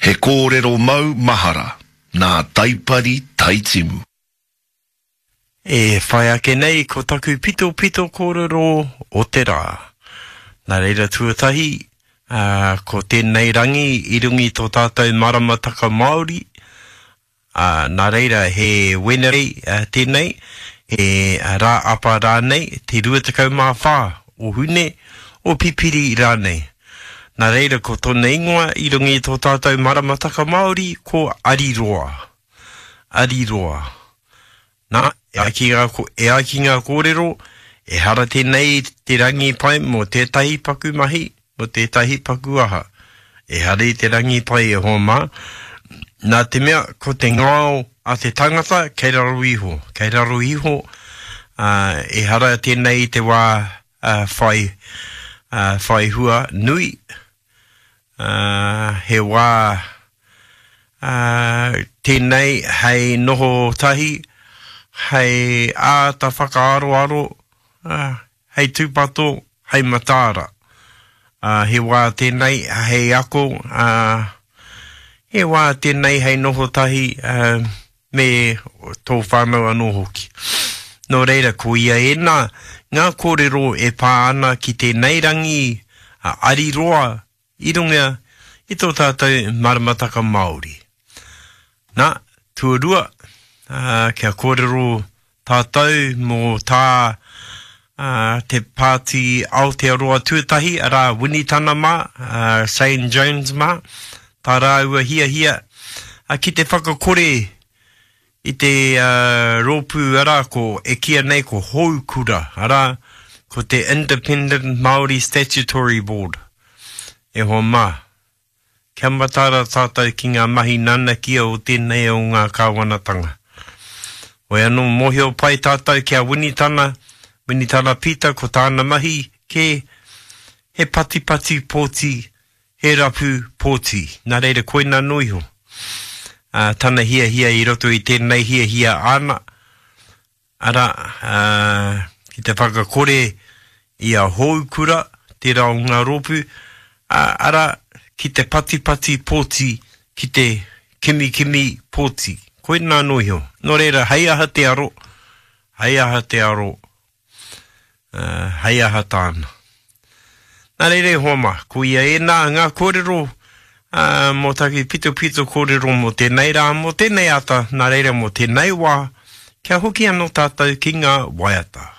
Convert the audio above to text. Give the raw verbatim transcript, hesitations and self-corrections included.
He kōrero mau mahara nā Taipari Taitimu. E whai ake nei ko taku pitopito kōrero o te rā. Nā reira tuatahi, ā, ko tēnei rangi i runga i tō tātou maramataka Māori, ā, nā reira he Wenerei tēnei, he rā apa rānei, te rua tekau mā whā o Hune, o Pipiri rānei. Nā reira ko tōna ingoa i runga i tō tātou maramataka Māori ko Ariroa. Ariroa. Nā, e ai ki ngā, e ai ki ngā kōrero, ehara tēnei te rangi pai mō tētahi paku mahi, mō tētahi paku aha. Ehara i te rangi pai e hoa mā, nā te mea ko te ngao a te tangata kei raro iho, kei raro iho, ā, ehara tēnei i te wā ā, whai, ā, whai hua nui, ā, he wā, ā, tēnei hei noho tahi, hei āta whakaaroaro, ā, hei tūpato, hei mataara. Ā, he wā tēnei hei ako, ā, he wā tēnei hei noho tahi, ā, me tō whānau anō hoki. Nō reira, ko ia ēnā ngā kōrero e pā ana ki tēnei rangi a Ariroa i runga i tō tātou maramataka Māori. Nā, tuarua, ā, kia kōrero tātou mō tā ā, te Pāti Aotearoa Tuatahi, arā, Winitana mā, ā, Shane Jones mā, tā rāua hiahia ā, ki te whakakore i te ā, rōpū, arā, ko, e kīia nei ko Houkura, arā, ko te Independent Māori Statutory Board. E hoa mā, kia mataara tātou ki ngā mahi nanakia o tēnei o ngā kāwanatanga. Hoi anō, mōhio pai tātou ki a Winitana, Winitana Pita, ko tāna mahi kē, he patipati pōti, he rapu pōti. Nā reira, koina noa iho ā, tana hiahia i roto i tēnei hiahia āna, arā, ā, ki te whakakore i a Houkura, tērā o ngā rōpū, ā, arā, ki te patipati pōti, ki te kimikimi pōti. Koinā noa iho. Nō reira, hei aha te aro, hei aha te aro, ā, hei aha tāna. Nā reira e hoa mā, ko ia ēnā ngā kōrero ā, mō taku pitopito kōrero mō tēnei rā, mō tēnei ata, nā reira mō tēnei wā, kia hoki anō tātou ki ngā waiata.